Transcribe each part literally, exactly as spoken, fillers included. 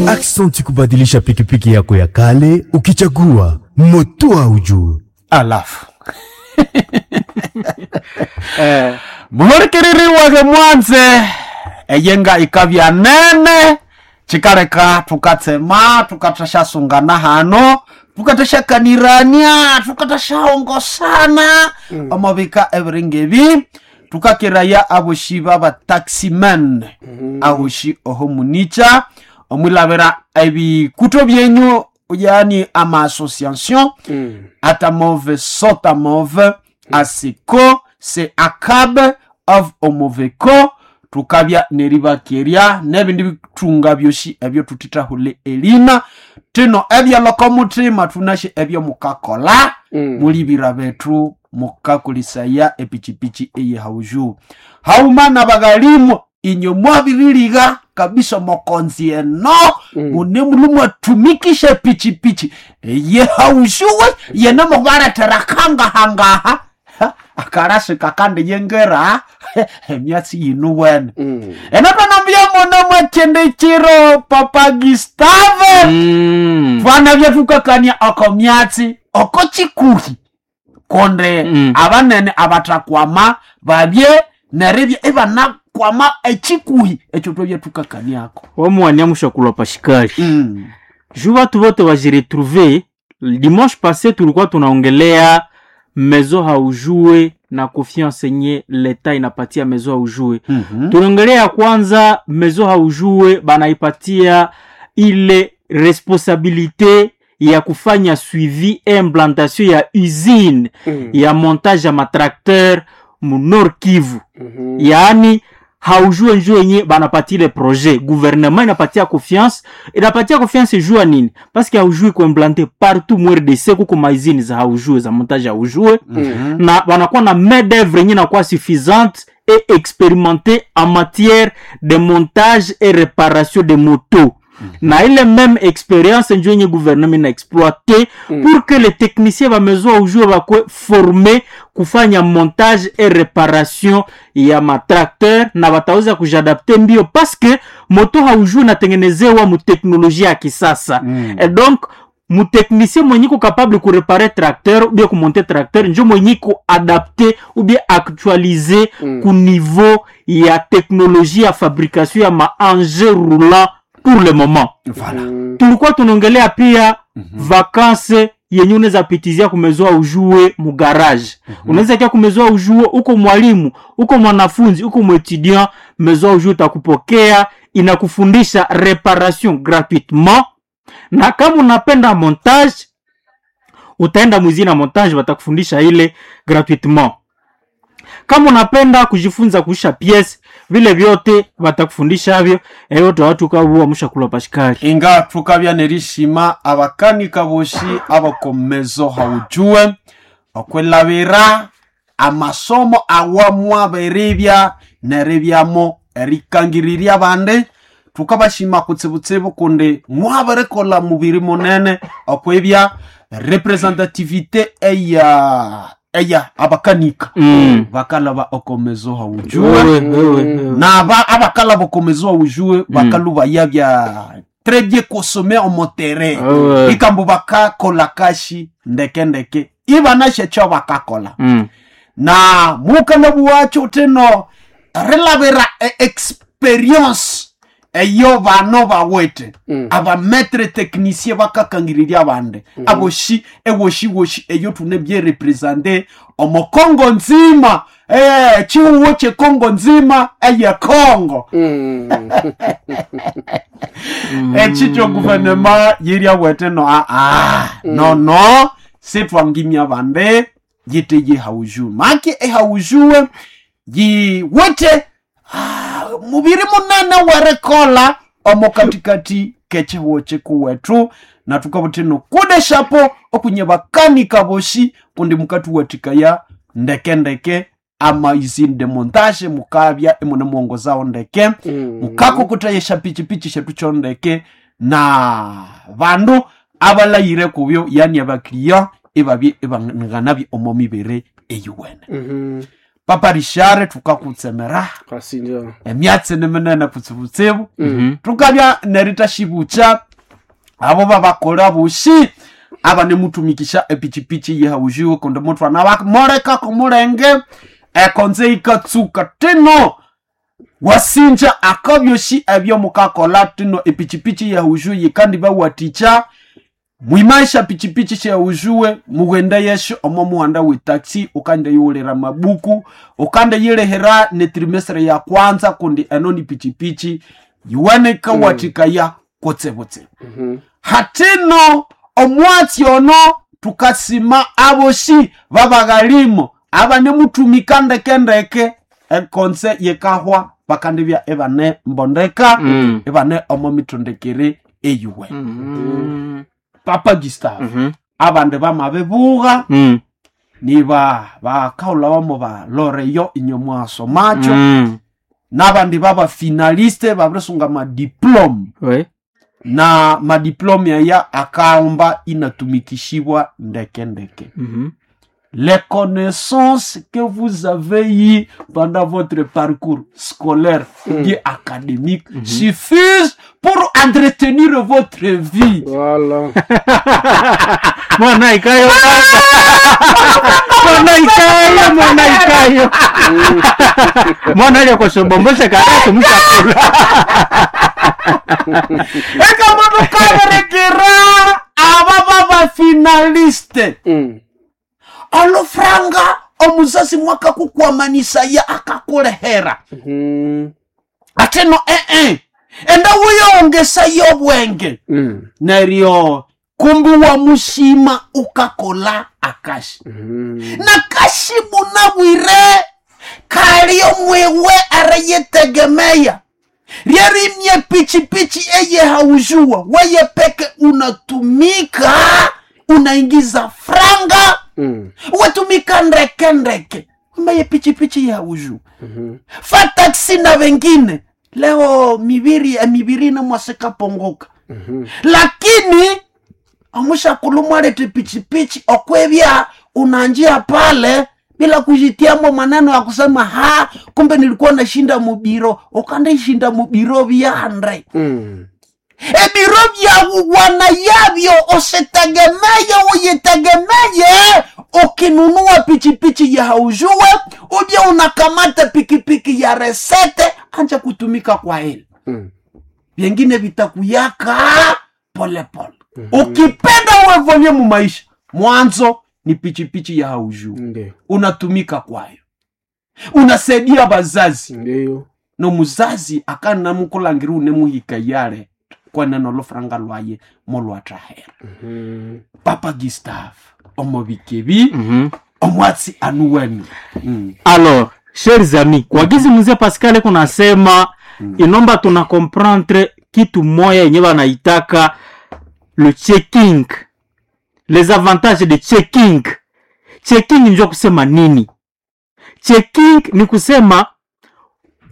Aksanti kubadilisha pikipiki yako ya kale ukichagua moto haujue. Alafu eh, mulorikereriwake mwanze eyenga ikabya nene cikaleka tukatsema tukathashasungana hano tukathashakanirania tukathashaongosana mm. omobika ebiringa ebi tukakiraya aboshi baba taximen mm. aboshi oho municha omwilabira ebikuto byenyu yani ama association mm. atamove sotamove asiko se akabe of omoveko tukabya neribakerya nebindi bitunga byoshi ebyo tutithahule elina tino ebyaloko mutima tunashe ebyo mukakola Mm. mulibira bethu mukakulisaya epichipichi eyehauju hauma na baghalimu inyo mwabiriliga kabisa mokonzi eno mm. mune mulu mwatumikisha pichipichi eyehaujuwe yene mubaletera kangahangaha Ha, akarasi kakandi yengera emyatsi yinu wene Mm. enotonambia muno mwachindikiro papa Gustave Mm. vana vyatukakania oko myatsi oko chikuhi konde Mm. abanene abatakwama babye neribya ibanakwama echikuhi ekyo twabyatukakaniako wamwania mushakulwa pashikali mm. juu watu wote wajiretrouve. Dimanche passé tulikuwa tunaongelea maison haujue na confiance yenye leta inapatia maison haujue. mm -hmm. Tunaongelea ya kwanza maison haujue banaipatia ile responsabilité ya kufanya suivi et implantation ya usine Mm. ya montage ya matracteur mu Nord Kivu. Mhm. Yaani haujue njuu yenye banapatia ile projet, gouvernement inapatia confiance, inapatia confiance juu ya nini? Parce que haujui kuimplante partout mu R D C kuko maizini za haujue za montage haujue Mm. na banakuwa na main d'œuvre yenye inakuwa suffisante et expérimentée en matière de montage et réparation de motos. Na ile même expérience njo yenye gouvernement ina exploité Mm. pour que les techniciens ba maison haujue bakwe formé kufanya montage et réparation ya matracteur na bataweza kujiadapte mbio parce que moto haujue inatengenezewa mu teknolojia ya kisasa Mm. et donc mutechnicien mwenye iko capable kuréparer tracteur ou bien kumonter tracteur njo mwenye iko adapté ou bien actualiser Mm. ku niveau ya teknologie ya fabrication ya maengin roulant pour le moment. Voilà. Mm. Tulikuwa tunaongelea pia vacances yenye unaweza pitizia kumezoa ujue mu garage. Unaweza kia kumezoa ujue, uko mwalimu, uko mwanafunzi, uko mwétudiant, mezoa ujue utakupokea, inakufundisha réparation gratuitement, na kama unapenda montage utaenda mwizini na montage watakufundisha ile gratuitement. Kama unapenda kujifunza kuisha pièce, vile vyote watakufundisha havyo. Eyo watu kabuwa mushakula pashikali. Inga tukabya nerishima abakanika boshi abakomezo haujue okwelabira amasomo awamwaberibya neribyamo erikangiriria bandi tukabashima kutsibutsibu kundi mwaberikola mubiri munene okwibya representativité eya eya abakanika Mm. bakalaba okomezo haujue. Wewe, wewe, wewe. Na aba abakala bokomezo ujue bakaluba yabya très bien consommé en terrain. Ouais. Ikambo bakakola kashi ndeke ndeke ibanashe cho bakakola Mm. na mukana buwacho teno rilabira e experience eyo bano bawete Mm. aba maître technicien bakakangiriria bande mm. aboshi ewoshi woshi eyo tune bien représenter omokongo nzima eh chiuwo che Kongo nzima eye Kongo. Mm. Echicho gouvernement yiria wete no a a no no sitwangimya bande yite ye hauju maki e haujue yiwete ah, mubiri munene werekola omo katikati kechihuo chikuwetu na tukabutino kudeshapo okunye bakanika boshi kundi mukatuwatikaya ndeke ndeke ama usine de montage mukabya imune muongozao ndeke Mm. mukakokotayesha pichipichi shetu chondeke na bandu abalayire kubyo yani abakiriya ibabye ibanganabye omo mibere eyuwene. Mhm. Papa Richard, tukakutsemera Kasinja. emyatsi ni minene kutsibutsibu. Mhm. Tukabya neritaxibucha abo babakola bushi aba nimutumikisha epichipichi yehaujiwe kundi mutwana bamoleka kumulenge ekonze ikatsuka tino wasinja akabyoshi ebyo mukakola tino epichipichi yehaujiwe yikandi bawaticha mwimaisha pichipichi sheujuwe mughende yesho omo muhanda we taxi ukande yiwulira mabuku ukande yilehera ne trimestre ya kwanza kundi eno ni pichipichi yiweneka mm. watikaya kutsebutsebu. Mhm. Hatino omwatsi ono tukasima aboshi babaghalimo abanemutumika ndekendeke ekonse yekahwa bakandibya ebane mbondeka. Mm. Ebane omo mitondekere eyuwe. Mm. Papa Gustave, Mhm. abandi bamabibuga Mm. niba bakaula bamo baloreyo inye mwasomacho. Mm. N'abandi baba finaliste babirisunga madiplome. Oui. Na madiplome aya akaomba inatumikishibwa ndeke ndeke. Mhm. Les connaissances que vous avez eues pendant votre parcours scolaire ou bien académique suffisent pour entretenir votre vie. Voilà. Mwana ikayo mwana ikayo mwana ikayo mwana alya kwashobombosha karatu mshakula. Ekamutukaberekera aba babafinaliste. Mm. Olufranga omuzazi mwakakukwamanisa akakulehera. Mhm. Ateno ee enda wiyongesayo obwenge. Mm. Neryo kumbi wamushima ukakola akashi. Mhm. Nakashi munabwire kali omwiwe arayitegemeya ryerimye pichipichi eye haujua weye peke unatumika unaingiza franga. Mm. Wetumika ndeke ndeke mbaye pichipichi ya haujua. Mhm. Fa taksi na wengine leo mibiri emibiri namwasikapongoka. Mhm. Lakini amushakulumwalete pichipichi okwevya unanjia pale bila kujitiamo maneno ya kusema ha kumbe nilikuwa nashinda mubiro ukandishinda mubiro vyandre. Mm. Ebiro vyawuwana yavyo usitegemeye uyitegemeye ukinunua pichipichi ya haujue uje unakamata pikipiki ya resete anja kutumika kwa ile. Mm. Vyengine vitakuyaka polepole. Ukipenda uevolue mumaisha mwanzo ni pichipichi ya haujue. Ndio. Unatumika kwayo unasaidia bazazi. Ndio. No muzazi akanamukulangira unemuhika yale kwaneno lofranga lwaye molwatrahera. Mhm. Papa Gustave omobikebi. Mhm. Omwatsi anuwenu mm. Alors chers amis, kwa gizi mzee Pascal kunasema inomba tuna comprendre kitu moya yenye wanaitaka le checking, les avantages de checking. Checking njo kusema nini? Checking ni kusema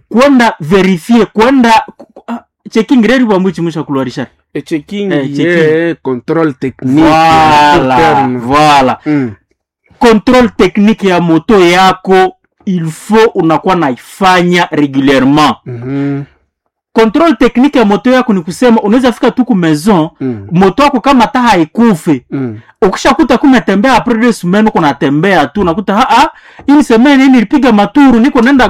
kwenda verifier kwenda ah, checking reri bwambuchi musha kulwarisha. E checking, Eh, checking. yeah, contrôle technique. Voilà, Terme. voilà. Mm. Contrôle technique ya moto yako il faut unakuwa naifanya régulièrement. Mhm. Contrôle technique ya moto yako ni kusema unaweza fika tu ku maison. Mm. Moto wako kama hata haikufe. Mm. Ukishakuta kumetembea après deux semaines uko natembea tu unakuta ah ah une semaine hii nilipiga maturu niko nenda.